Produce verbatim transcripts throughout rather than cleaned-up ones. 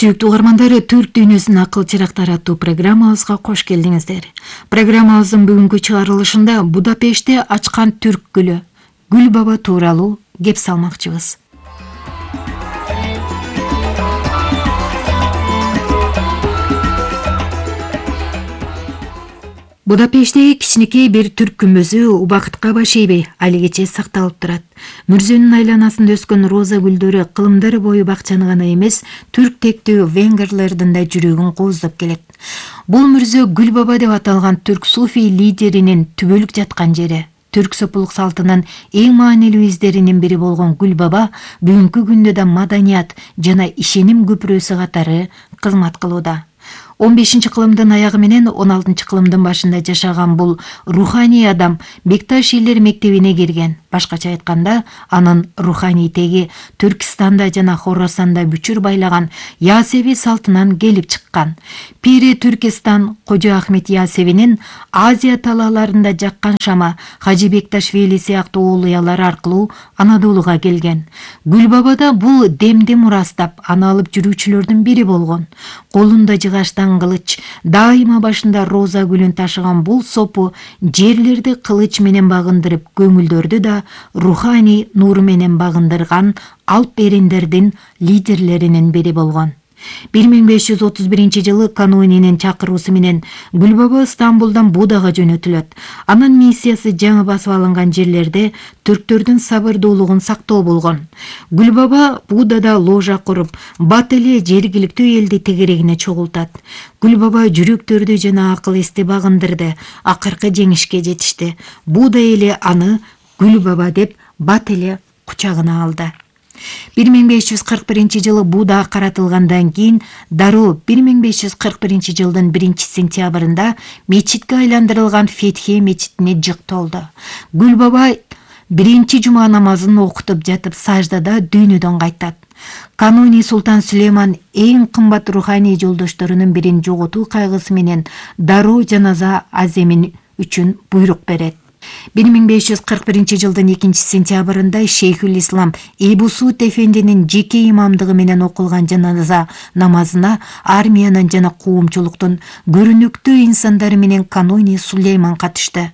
Сүйүктүү угармандар, Түрк дүйнөсүнүн акыл чырактары аттуу программабызга кош келдиңиздер. Программабыздын бүгүнкү чыгарылышында Будапештте ачкан түрк гүлү Гүл баба тууралуу кеп салмакчыбыз. Будапештте кичинекей бир түрк күмбөзү убакытка башейбей алигече сакталып турат. Мүрзөнүн айланасында өскөн роза гүлдөрү кылымдар бою бакчаны гана эмес, түрк тектүү венгрлердин да жүрөгүн кооздоп келет. Бул мүрзө Гүл баба деп аталган түрк суфий лидеринин түбөлүк жаткан жери. Түрк сопулук салтынын эң маанилүү издеринин бири болгон Гүл баба бүгүнкү күндө да маданият жана ишеним көпүрөсү катары кызмат кылууда. он бешинчи кылымдын аягы менен он алтынчы кылымдын башында жашаган бул руханий адам Бекташ элдер мектебине кирген. Башкача айтканда, анын руханий теги Түркистанда жана Хорасанда бүчүр байлаган Ясеви салтынан келип чыккан. Пири Түркистан Кожо Ахмет Ясевинин Азия талааларында жаккан шама Хажы Бекташ Вели сыяктуу оолуялары аркылуу Анадолуга келген. Гүл баба да бул демди мурастап, аны алып жүрүүчүлөрдүн бири болгон. Колунда жыгаштан кылыч, дайыма башында роза гүлүн ташыган бул сопу жерлерди кылыч менен багындырып, көңүлдөрдү да руханий нуру менен багындырган алп эриндердин лидерлеринин бири болгон. бир миң беш жүз отуз биринчи жылы Канунинин чакыруусу менен Гүл баба Стамбулдан Будага жөнөтүлөт. Анын миссиясы жаңы басып алынган жерлерде түрктөрдүн сабырдуулугун сактоо болгон. Гүл баба Будада ложа куруп, бат эле жергиликтүү элди тегерегине чогултат. Гүл баба жүрөктөрдү жана акыл эсти багындырды, акыркы жеңишке жетишти. Буда эли аны Гүл баба деп бат эле кучагына алды. бир миң беш жүз кырк биринчи жылы Буда каратылгандан кийин дароо бир миң беш жүз кырк биринчи жылдын биринчи сентябрында мечитке айландырылган Фетхе мечитине жыктолду. Гүл баба биринчи жума намазын окутуп жатып саждада дүйнөдөн кайтат. Кануни Султан Сүлейман эң кымбат руханий жолдошторунун бирин жоготуу кайгысы менен дароо жаназа аземин үчүн буйрук берет. бир миң беш жүз кырк биринчи жылдын экинчи сентябрында Шейхул Ислам Эбу Суд эфендинин жеке имамдыгы менен окулган жаназа намазына армиянын жана коомчулуктун көрүнүктүү инсандары менен Кануни Сулейман катышты.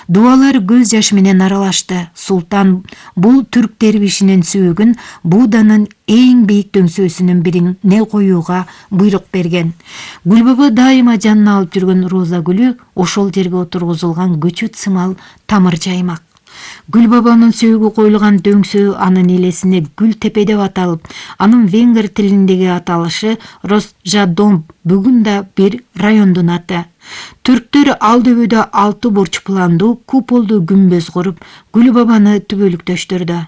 Дуалар көз жашы менен аралашты. Султан бул түрк дервишинин сүйөгүн Буданын эң бийик дөңсөөсүнүн бирине коюуга буйрук берген. Гүл баба дайыма жанына алып жүргөн роза гүлү ошол жерге отургузулган көчөт сымал тамыр жаймак. Гүл бабанын сөөгү коюлган дөңсөө анын элесине Гүл тепе деп аталып, анын венгр тилиндеги аталышы Росжадом, бүгүн да бир райондун аты. Түрктөр ал дөбөдө алты бурч пландуу куполдуу күмбөз куруп, Гүл бабаны түбөлүктөштүрдү.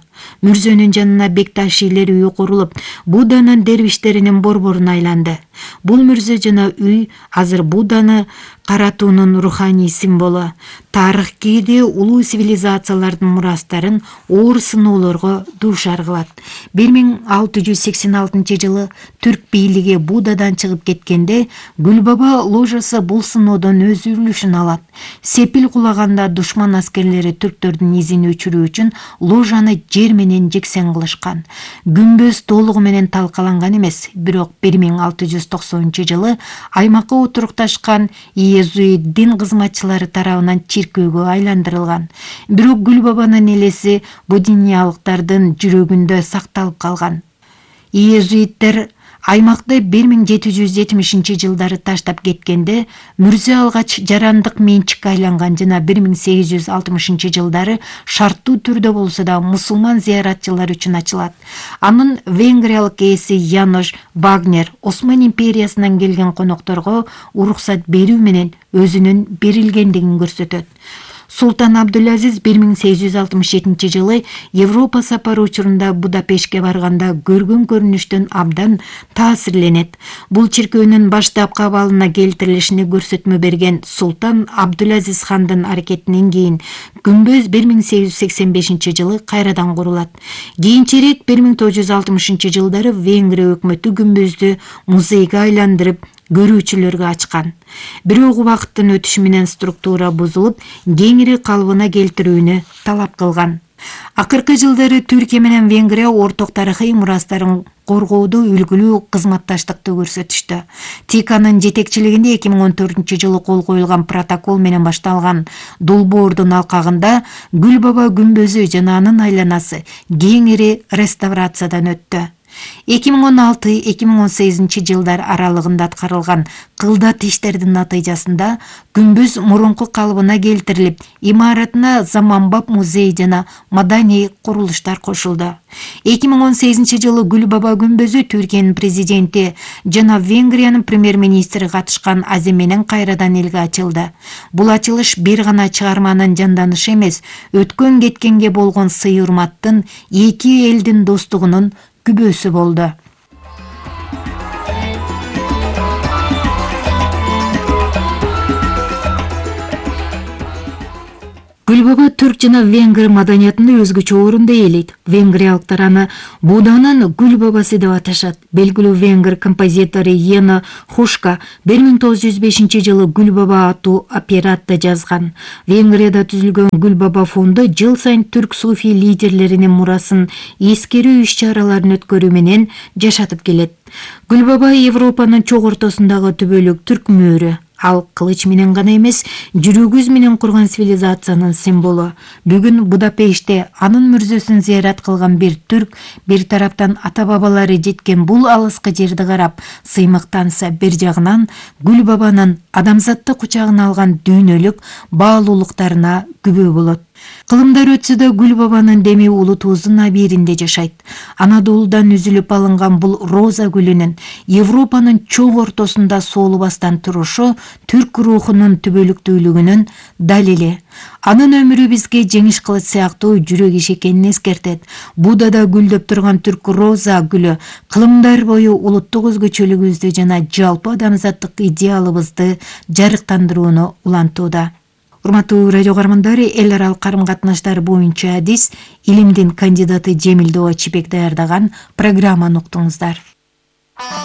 Мүрзөнүн жанына Бекташ элдер үйү курулуп, Буданын дервиштеринин борборун айланды. Бул мүрзө жана үй азыр Буданы каратуунун руханий символу. Тарых кээде улуу цивилизациялардын мурастарын оор сыноолорго дуушар кылат. бир миң алты жүз сексен алтынчы жылы түрк бийлиги Будадан чыгып кеткенде, Гүл баба ложасы бул сыноодон өз үлүшүн алат. Сепил кулаганда душман аскерлери түрктөрдүн изин өчүрүү үчүн ложаны жер менен жексен кылышкан. Күмбөз толугу менен талкаланган эмес, бирок бир миң алты жүз токсонунчу жылы аймакка отурукташкан иезуит дин кызматчылары тарабынан чиркөөгө айландырылган. Бирок Гүл бабанын элеси будиниялыктардын жүрөгүндө сакталып калган. Иезуиттер аймакты бир миң жети жүз жетимишинчи жылдары таштап кеткенде, мүрзө алгач жарандык менчикке айланган жана бир миң сегиз жүз алтымышынчы жылдары шарттуу түрдө болсо да мусулман зыяратчылар үчүн ачылат. Анын венгриялык ээси Янош Вагнер Осман империясынан келген конокторго уруксат берүү менен өзүнүн берилгендигин көрсөтөт. Султан Абдулазиз бир миң сегиз жүз алтымыш жетинчи жылы Европа сапары учурунда Будапештке барганда көргөн көрүнүштөн абдан таасирленет. Бул чиркөөнүн баштапкы абалына келтирилишине көрсөтмө берген Султан Абдулазиз хандын аракетинен кийин күмбөз бир миң сегиз жүз сексен бешинчи жылы кайрадан курулат. Кийинчерээк бир миң тогуз жүз алтымышынчы жылдары Венгрия өкмөтү күмбөздү музейге айландырып, көрүүчүлөргө ачкан. Бирок убакыттын өтүшү менен структура бузулуп, кеңири калыбына келтирүүнү талап кылган. Акыркы жылдары Түркия менен Венгрия орток тарыхый мурастарын коргоодо үлгүлүү кызматташтыкты көрсөтүштү. ТИКАнын жетекчилигинде эки миң он төртүнчү жылы кол коюлган протокол менен башталган долбоордун алкагында Гүл Баба күмбөзү жана анын айланасы кеңири реставрациядан өттү. эки миң он алты — эки миң он сегизинчи жылдар аралыгында аткарылган кылдат иштердин натыйжасында күмбөз мурунку калыбына келтирилип, имаратына заманбап музей жана маданий курулуштар кошулду. эки миң он сегизинчи жылы Гүл Баба күмбөзү Түркиянын президенти жана Венгриянын премьер-министри катышкан азе менен кайрадан элге ачылды. Бул ачылыш бир гана чыгарманын жанданышы эмес, өткөн кеткенге болгон сый-урматтын, эки элдин достугунун күбөсү болду. Гүл Баба түрк жана венгр маданиятында өзгөчө орунду ээлейт. Венгриялыктар аны Буданын Гүл Бабасы деп аташат. Белгилүү венгр композитору Йена Хушка бир миң тогуз жүз бешинчи жылы Гүл Баба аттуу оператта жазган. Венгрияда түзүлгөн Гүл Баба фонду жыл сайын түрк суфий лидерлеринин мурасын эскерүү иш-чараларын өткөрүү менен жашатып келет. Гүл Баба Европанын чок ортосундагы түбөлүк түрк мөөрү. Ал кылыч менен гана эмес, жүрөгүз менен курган цивилизациянын символу. Бүгүн Будапештте анын мүрзөсүн зыярат кылган бир түрк бир тараптан ата-бабалары жеткен бул алыскы жерди карап сыймыктанса, бир жагынан Гүл Бабанын адамзатты кучагына алган дүйнөлүк баалуулуктарына күбө болот. Кылымдар өтсө да Гүл Бабанын деми улутубуздун абийиринде жашайт. Анадолудан үзүлүп алынган бул роза гүлүнүн Европанын чок ортосунда соолубастан турушу түрк рухунун түбөлүктүүлүгүнүн далили. Анын өмүрү бизге жеңиш кылыч сыяктуу жүрөк иш экенин эскертет. Будада гүлдөп турган түрк роза гүлү кылымдар бою улуттук өзгөчөлүгүбүздү жана жалпы адамзаттык идеалыбызды жарыктандырууну улантууда. Урматтуу радио каармандары, эл аралык карым-катнаштар боюнча адис илимдин кандидаты Жемил Доочибек даярдаган программаны уктуңуздар.